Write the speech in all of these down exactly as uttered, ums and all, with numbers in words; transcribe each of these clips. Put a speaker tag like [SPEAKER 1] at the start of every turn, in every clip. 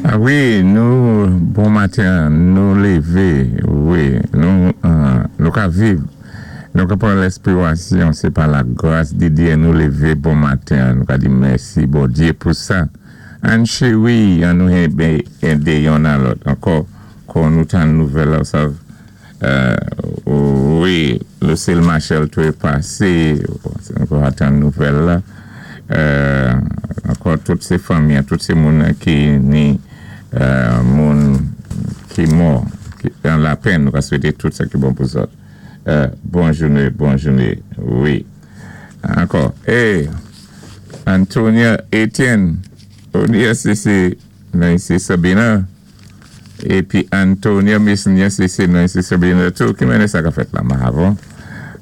[SPEAKER 1] Ah wi, nou, bon maten, nou lévé, wi, nou, euh, nou ka viv, nou ka pran lespirasyon, sé pa la gras di Dye nou lévé bon maten, nou ka di mèsi Bondyé pou sa. Ann chéwi, an nou édé yonn a lòt, ankò, kon nou tann nouvèl la, sa, euh, wi, Lucille Marshall tou pasé, nou ka tann nouvèl la, euh, ankò tout sé fanmi, tout sé moun ki ni euh, moun ki mò, ki an lapenn, nou ka swété tout sa ki bon pou zòt. Euh, bon jouné, bon jouné, wi. Ankò, eh, Antonia Etienne, Onia sé sé Nancy Sabina, épi Antonia Mason, sé sé Nancy Sabina tou, ki mennen sa ka fèt la, mahavon?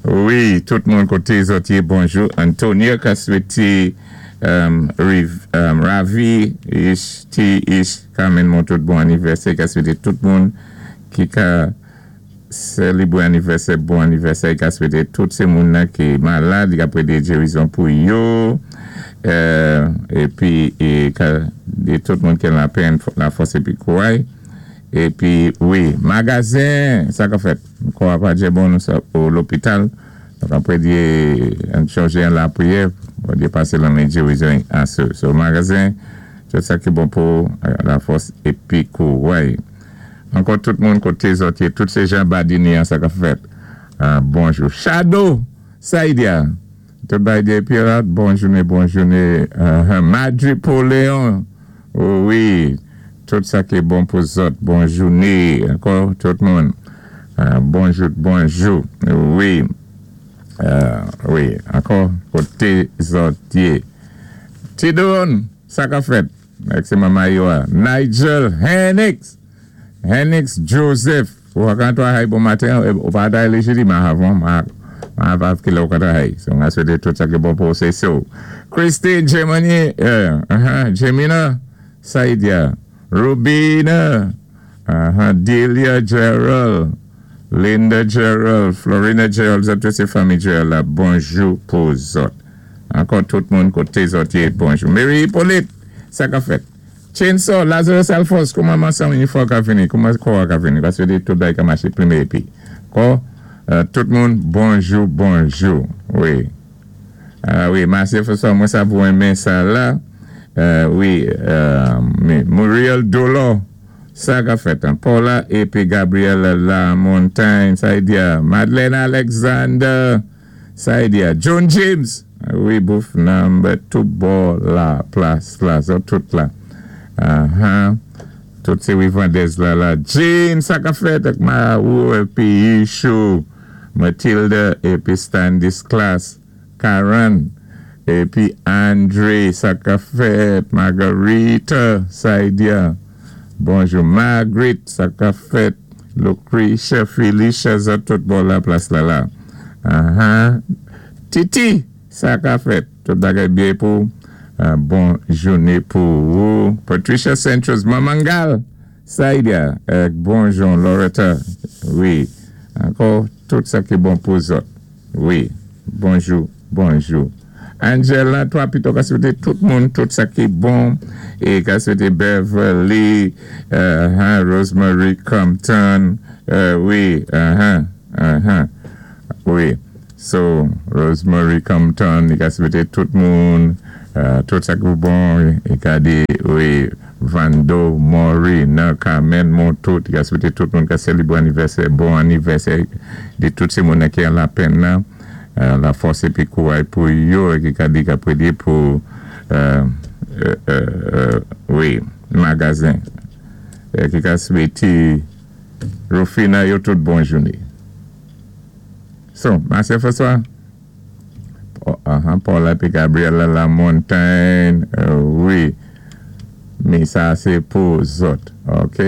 [SPEAKER 1] Wi, tout moun koté zòt yé, bonjou. Antonia ka swété um, Riv, um, Ravi, Ish, T, Ish, Carmen moun tout bon anivèsè, ka swété tout moun ki ka sélébwé anivèsè, bon anivèsè, ka swété tout sé moun nan ki malad, ka prédé gérizon pou yo, euh, épi é, ka, di tout moun ki lapenn, lafòs épi kouray. Épi, wi, magazen, sa ka fèt. Kò a pa djé bon nou sa, ou lopital. Donk apwé di, an chonjé an lapriyè, Bondyé pasé lanmen gérizon asou. So, magazen, tout sa ki bon pou lafòs épi kouray. Ankò tout moun koté zòt yé, tout sé jan Badini an sa ka fèt. Uh, bonjou. Shadow, Saïdia. Tout bay de Pirate, bon jouné, bon jouné. Uh, Madri Poléon, wi. Tout sa ki bon pou zòt, bon jouné. Ankò, tout moun. Uh, bonjou, bonjou. Wi. Uh, wi, ankò, koté zòt yé. Tidon, sa ka fèt. Ak sé manman yo a. Nigel Hennix. Hennix Joseph. Ou ka travay bon maten, ou pa travay lé jidi, ma avon, ma ma avav ki lè ou ka travay. So, m swété tout sa ki bon pou sé so. Christine Gemini, uh, uh-huh, Gemina, Saidia, Rubina, uh-huh, Delia Gerald, Linda Gerald, Florina Gerald, zòt tout sé fanmi Gerald la, bonjou pou zòt. Ankò tout moun koté zòt yé, bonjou. Mary Hippolyte, sa ka fèt. Chainsaw, Lazarus Alphonse, kouman mansan inifò ka vini, kouman kò ka vini, paské di tout bay ka maché pwémyé épi. Kò, euh, tout moun, bonjou, bonjou. Wi. Ah wi, Marcel François, mwen sa pou renmen sa la. Euh, wi, euh, Muriel Dolo, sa ka fèt. Hein. Paula épi Gabriel La Montagne, sa di Madeleine Alexander, sa di John James, wi, bouf number tout bò la plas la, so tout la. Uh-huh. Tout sé wi Vendez la la. Jane, sa ka fèt ak ma ou épi Yishu, Matilda épi Standis Class, Karen, épi Andre, sa ka fèt, Margarita, Saidia, bonjou, Margaret, sa ka fèt, Lucretia, Felicia, sa tout bò la plas la la. Uh-huh. Titi, sa ka fèt, tout bagay byen pou, uh, bon jouné pou ou. Patricia Centros, Mamangal, Saidia, euh, bonjou, Loretta, wi, ankò, tout sa ki bon pou zòt. Wi, bonjou, bonjou. Angela, twa pito ka swété tout moun, tout sa ki bon, é ka swété Beverly, uh, huh, Rosemary Compton, uh, wi, uh-huh, uh-huh, wi. So, Rosemary Compton, li ka swété tout moun, uh, tout sa ki bon, é ka di, wi, Vando, Maury, nan Carmen, Montout, li ka swété tout moun ka sélébwé anivèsè, bon anivèsè, di tout sé moun ki an lapenn nan, euh, lafòs épi kouray pou yo, é ki ka di ka prédé pou, euh, euh, euh, wi, magazen, é ki ka swété Rufina yo tout bon jouné. So, Marcel François, uh-huh, Paula épi Gabriela La Montagne, euh, wi, mais sa sé pou zòt, ok?